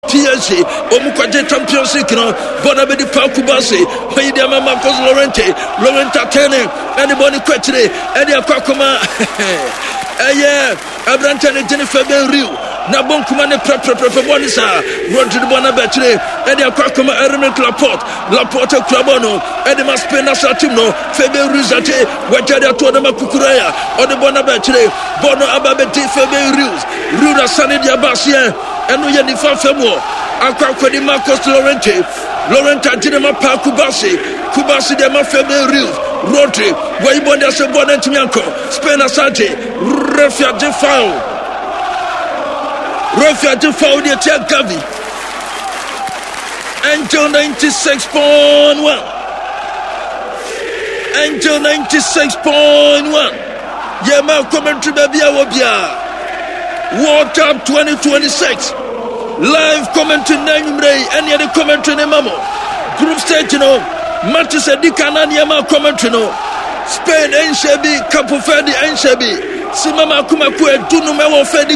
PSG wɔn kɔgye Champions League no bɔ na bɛdi Pau Cubarsi wɔyi de ama Marcos Llorente. Llorente atɛne ɛde bɔ ne kɔ akyire ɛde akɔ akɔma ɛyɛ aberanteɛ no gyene Fabian Ruiz na bɔ nkuma ne prɛprɛprɛprɛ bɔ ne saa. Rodri bɔ no abɛkyire ɛde akɔ akɔma Aymeric Laporte. Laporte kura bɔ no ɛde ma Spain national team no. Fabian Ruiz ate wagya de ato ɔde ma Cucurella, ɔde bɔ no abɛkyire, bɔ no aba bɛdi Fabian Ruiz. Ruiz asane de aba aseɛ, ɛno yɛ nifa fam hɔ akɔ akɔdi Marcos Llorente. Llorente agye ne ma paa Cubarsi. Cubarsi de ma Fabian Ruiz. Rodri wayi bɔ de asɛ bɔ no ntumi ankɔ. Spain asagye refi agye foul. Refi agye foul de atia Gavi. Angel 96.1. Angel 96.1. Yeah, my commentary baby, I will be World Cup 2026. Live commentary na anwummerɛ yi ɛne yɛde commentary ne ma mo. Group stage no, matches adi kan na nneɛma commentary no. Spain nhyɛ bi, Cape Verde nhyɛ bi. Sima mako mako 15 ɛwɔ fɛ di.